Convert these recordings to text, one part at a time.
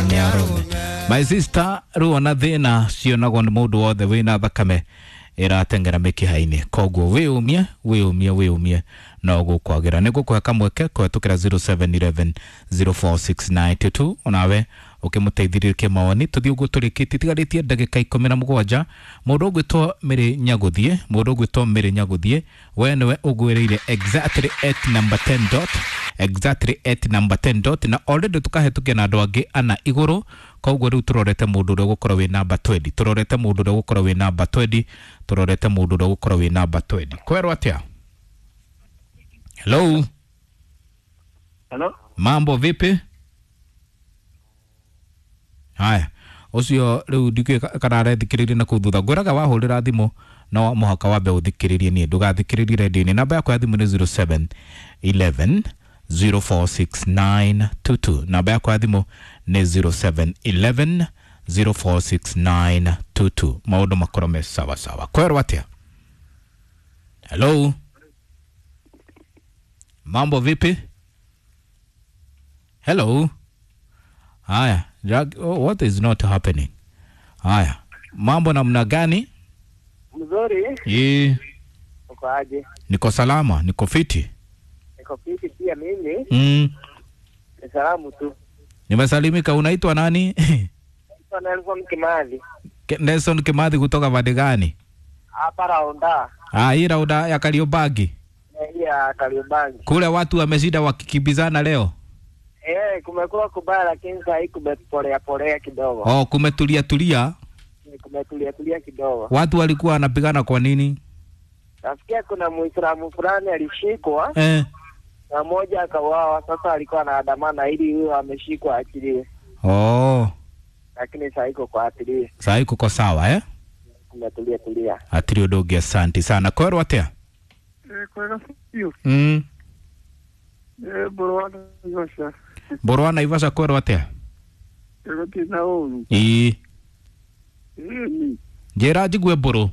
Nĩ arũme. My sister, ruo na thĩna cionagwo nĩ mũndũ wothe wĩna thakame ĩrateng'era mĩkiha-inĩ, koguo wĩyũmie wĩyũmie wĩyũmie no gũkwagĩra. Nĩ ngũkũhe kamweke kũhetũkĩra 0711 046922 onawe ũkĩmũteithĩrĩrie kĩmawoni. Tũthiĩ ũguo tũrĩkĩtie, tigarĩtie ndagĩka 17. Mũndũ ũgwĩtwo Mĩrĩ Nyagũthiĩ, mũndũ ũgwĩtwo Mĩrĩ Nyagũthiĩ, we nĩwe ũgwĩrĩire exactly at number 10 dot, exactly at number 10 dot, na already tũkahĩtũkia na andũ angĩ ana igũrũ. Koguo rĩu tũrorete mũndũ ũrĩa ũgũkorwo wĩ namba 20, tũrorete mũndũ ũrĩa ũgũkorwo wĩ namba 20, tũrorete mũndũ ũrĩa ũgũkorwo wĩ namba 20. Kwerwo atĩa? Hello. Hello? Mambo vipi? Haya, ũcio rĩu ndikĩũĩ kana arethikĩrĩria na kũu thutha. Ngwĩraga wahũrĩra thimũ no mũhaka wambe ũthikĩrĩrie niĩ, ndũgathikĩrĩrie redio-inĩ. Namba yakwa ya thimũ nĩ 07 11 046922. Namba yakwa ya thimũ nĩ 07 11 046922. Maũndũ makorwo me sawa sawa. Kwerwo atĩa? Hello, mambo vipi? Hello. Haya, oh, what is not happening? Haya, mambo namna gani? Mzuri. Ye. Uko aje? Niko salama, niko fiti. Niko fiti pia mimi. Ni salamu tu. Nimesalimika. Unaitwa nani? Naitwa Nelson Kimathi. Nelson Kimathi kutoka pande gani? Hapa Raunda. Ah, hii Raunda ya Kariobangi. Hii ya Kariobangi. Kule watu wameshinda wakikimbizana leo. Kumekuwa kubaya lakini saa hii kumepolea polea kidogo. Oh, kumetulia tulia. Kumetulia tulia kidogo. Watu walikuwa wanapigana kwa nini? Nasikia kuna Muislamu fulani alishikwa na mmoja akauawa. Sasa alikuwa anaandamana ili huyo ameshikwa aachiliwe. Oh. Lakini saa hii kuko aachiliwe. Saa hii kuko sawa eh? Kumetulia tulia. Atiri ũndũ asante sana. Kwerwo atĩa? Kwega biũ. Mbũrũ wa Naivasha. Mbũrũ wa Naivasha kwerwo atĩa? Gũtirĩ na ũru. Ĩĩ. Ĩni. Njĩra njigue mbũrũ.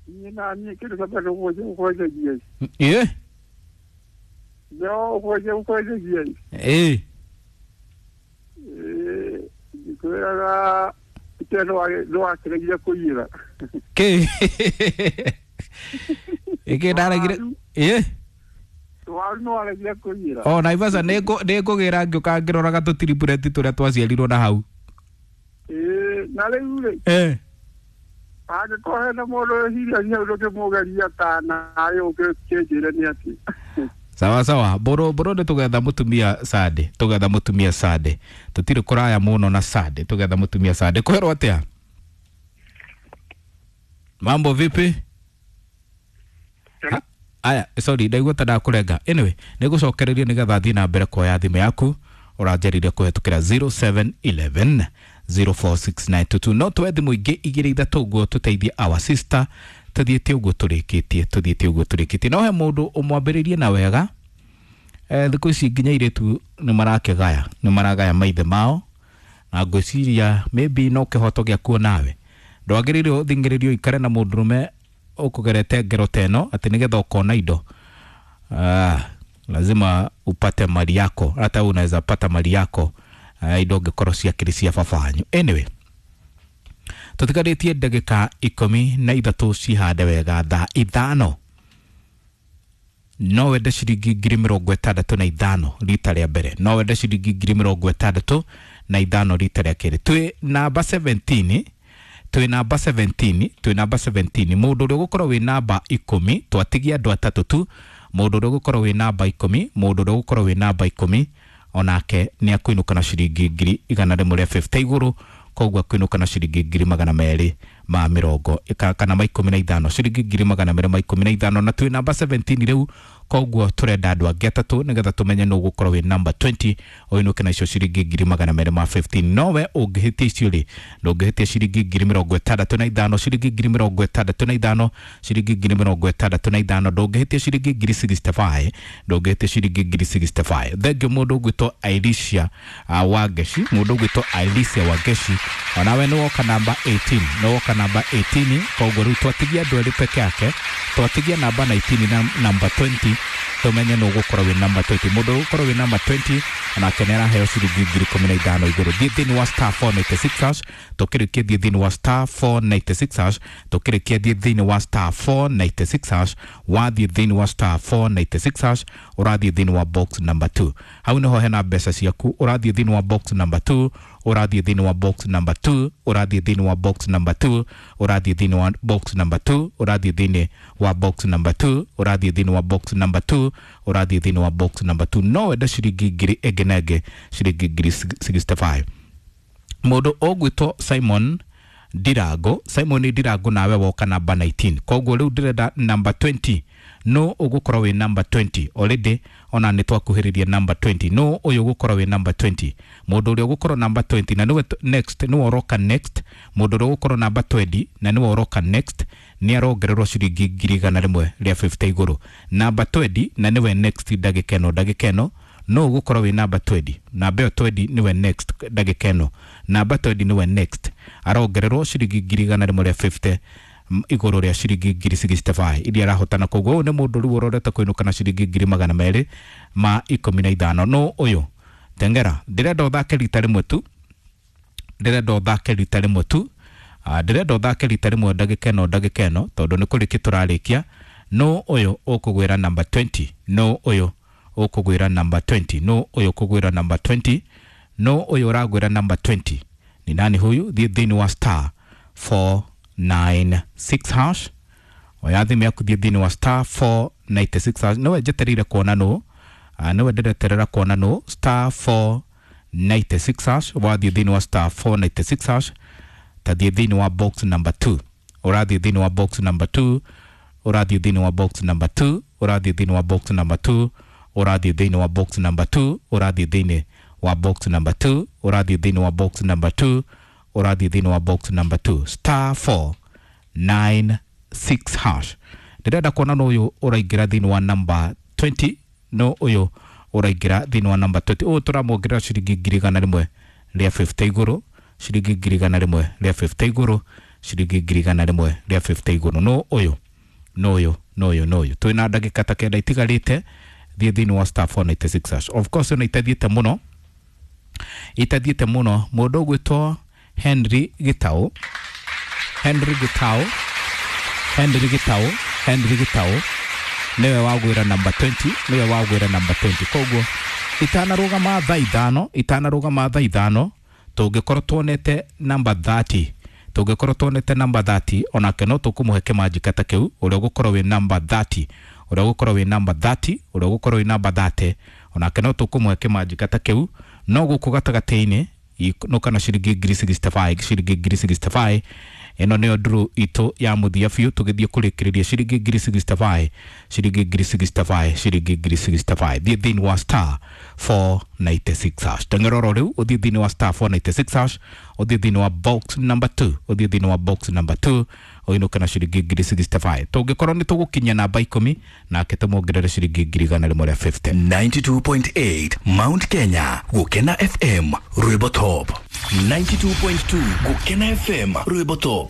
Niĩ na niĩ kĩndũ kĩa mbere ũgwenjagia. Ĩĩ. No ũgwenjagia. Ĩĩ. Ĩĩ. Ndikwĩraga ite nĩwakĩregire kũiyĩra. Kĩ? Ĩkĩ ndaregire? Ĩĩ. Waru nĩwaregire kũiyĩra. O Naivasha nĩngũgĩra ngĩũka ngĩroraga tũtiribureti tũrĩa twaciarirwo na hau. Ĩĩ, na rĩu rĩ. Angĩkorwo hena mũndũ wĩciragia ũndũ ũkĩmũgeria ta nawe ũkĩnjĩre nĩ atĩ. Sawa sawa, mbũrũ mbũrũ nĩ tũgetha mũtumia Sande, tũgetha mũtumia Sande. Tũtirĩ kũraya mũno na Sande, tũgetha mũtumia Sande. Kwerwo atĩa? Mambo vipi? Aya, sorry, ndaigua ta ndakũrenga. Anyway, nĩngũcokereria nĩgetha thiĩ na mbere kuoya thimũ yaku ũranjĩrire kũhetũkĩra 0711 046922. No tuoe thimũ ingĩ igĩrĩ ithatũ ũguo tũteithie our sister, tũthiĩte ũguo tũrĩkĩtie, tũthiĩte ũguo tũrĩkĩtie. No he mũndũ ũmwambĩrĩrie na wega. Thikũ ici nginya airĩtu nĩ marakĩgaya, nĩ maragaya maithe mao, na ngwĩciria maybe no kĩhoto gĩaku nawe. Ndwagĩrĩirwo ũthing'ĩrĩrio ũikare na mũndũrũme ũkũgerete ngero ta ĩno atĩ nĩgetha ũkona indo. Lazima upate mali yako, hata unaweza pata mali yako indo ũngĩkorwo ciakĩrĩ cia baba wanyu. Anyway, tũtigarĩtie ndagĩka 13 cihande wega thaa 5. No wende ciringi 65,000 rita rĩa mbere, no wende ciringi 65,000 rita rĩa kerĩ. Twĩ namba 17, twĩ namba 17, twĩ namba 17. Mũndũ ũrĩa ũgũkorwo wĩ namba 10, twatigia andũ atatũ tu. Mũndũ ũrĩa ũgũkorwo wĩ namba 10, mũndũ ũrĩa ũgũkorwo wĩ namba 10 onake nĩ akũinũka na ciringi 150,000 igũrũ, koguo akũinũka na ciringi 215 kana ma 15, ciringi 215. Na twĩ namba 17 rĩu, koguo tũrenda andũ angĩ atatũ nĩgetha tũmenye nũ ũgũkorwo wĩ namba 20 ũinũke na icio ciringi 215. Nowe ũngĩhĩtia icio rĩ, ndũngĩhĩtia ciringi 65,000, ciringi 65,000, ciringi 65,000, ndũngĩhĩtia ciringi 65,000, ndũngĩhĩtia ciringi 65,000. Thengio mũndũ ũgwĩtwo Alicia Wangeci, mũndũ ũgwĩtwo Alicia Wangeci, onawe nĩ woka namba 18, nĩ woka namba 18. Koguo rĩu twatigia andũ erĩ peke yake, twatigia namba 19 na namba 20. Tumenye no gukorwo wi namba 20. Mundu gukorwo wi namba 20 onake nĩ araheo ciringi 15,000 igũrũ. Thiĩ thĩinĩ wa star 496 hash tũkĩrĩkia, thiĩ thĩinĩ wa star 496 hash tũkĩrĩkia, thiĩ thĩinĩ wa star 496 hash. Wathiĩ thĩinĩ wa star 496 hash, ũrathiĩ thĩinĩ wa box number 2. Hau nĩho hena mbeca ciaku. Ũrathiĩ thĩinĩ wa box number 2, ũrathiĩ thĩinĩ wa box number 2, ũrathiĩ thĩinĩ wa box number 2, ũrathiĩ thĩinĩ wa box number 2, ũrathiĩ thĩinĩ wa box number 2, ũrathiĩ thĩinĩ wa box number 2, ũrathiĩ thĩinĩ wa box number 2. No wende ciringi ngiri ĩngĩ na ĩngĩ, ciringi 65,000. Mũndũ ũgwĩtwo Simon Ndirango, Simon Ndirango, nawe woka namba 19. Koguo rĩu ndĩrenda namba 20. No ũgũkorwo wĩ namba 20 already, ona nĩ twakuhĩrĩria namba 20. No ũyũ ũgũkorwo wĩ namba 20, mũndũ ũrĩa ũgũkorwo namba 20 na nĩwe next, nĩwe ũroka next. Mũndũ ũrĩa ũgũkorwo namba 20 na nĩwe ũroka next nĩ arongererwo ciringi 150,000 igũrũ. Namba 20 na nĩwe next ndagĩka ĩno, ndagĩka ĩno no ũgũkorwo wĩ namba 20. Namba ĩyo 20 nĩwe next ndagĩka ĩno, namba 20 nĩwe next, arongererwo ciringi 150,000 igũrũ rĩa ciringi 65,000 iria arahotana. Koguo ũyũ nĩ mũndũ rĩu ũrorete kũinũka na ciringi 215,000. No ũyũ tengera, ndĩrenda ũthake rita rĩmwe tu, ndĩrenda ũthake rita rĩmwe tu. Ndĩrenda ũthake rita rĩmwe ndagĩka ĩno, ndagĩka ĩno, tondũ nĩ kũrĩkia tũrarĩkia. No ũyũ ũkũgwĩra namba 20? No ũyũ ũkũgwĩra namba 20? No ũyũ ũkũgwĩra namba 20? No ũyũ ũragwĩra namba 20 ni nani huyu? Thiĩ thĩinĩ wa star 496 hash. Oya thimũ yaku, thiĩ thĩinĩ wa star 496 hash. Nĩwe njetereire kuona nũ. Nĩwe ndĩreterera kuona nũ. Star 496 hash. Wathiĩ thĩinĩ wa star 496 hash, tathiĩ thĩinĩ wa box number 2. Ũrathiĩ thĩinĩ wa box number 2, ũrathiĩ thĩinĩ wa box number 2, ũrathiĩ thĩinĩ wa box number 2, ũrathiĩ thĩinĩ wa box number 2, ũrathiĩ thĩinĩ wa box number 2, ũrathiĩ thĩinĩ wa box number 2, ũrathiĩ thĩinĩ wa box number 2, star 496 hash. Ndĩrenda kuona no ũyũ ũraingĩra thĩinĩ wa namba 20. No ũyũ ũraingĩra thĩinĩ wa namba 20? Ũyũ tũramuongerera ciringi 150,000 igũrũ, ciringi 150,000 igũrũ, ciringi 150,000 igũrũ. No ũyũ? No ũyũ? No ũyũ? No ũyũ? Twĩna ndagĩka ta 9 itigarĩte. Thiĩ thĩinĩ wa star 496 hash. Of course ĩno itathiĩte mũno, itathiĩte mũno. Mũndũ ũgwĩtwo Henry Gitau, Henry Gitau, Henry Gitau, Henry Gitau nĩwe wagwĩra namba 20, nĩwe wagwĩra namba 20. Koguo itanarũgama thaa 5, itanarũgama thaa 5, tũngĩkorwo tuonete namba 30, tũngĩkorwo tuonete namba 30, onake no tũkũmũhe kĩmanjika ta kĩu. Ũrĩa ũgũkorwo wĩ namba 30, ũrĩa ũgũkorwo wĩ namba 30, ũrĩa ũgũkorwo wĩ namba 30, onake no tũkũmũhe kĩmanjika ta kĩu. No gũkũ gatagatĩ-inĩ no kana ciringi 65,000, ciringi 65,000. Ĩno nĩyo nduru itũ ya mũthia biũ tũgĩthiĩ kũrĩkĩrĩria. Ciringi 65,000, ciringi 65,000, ciringi 65,000. Thiĩ thĩinĩ wa star 496 hash. Teng'era oro rĩu, ũthiĩ thĩinĩ wa star 496 hash, ũthiĩ thĩinĩ wa box number 2, ũthiĩ thĩinĩ wa box number 2, ũinũke na ciringi 65,000. Tũngĩkorwo nĩ tũgũkinyia namba 10, nake tũmuongerere ciringi 150,000. 92.8 Mount Kenya Gukena FM Rwimbo Top, 92.2 Gukena FM Rwimbo Top.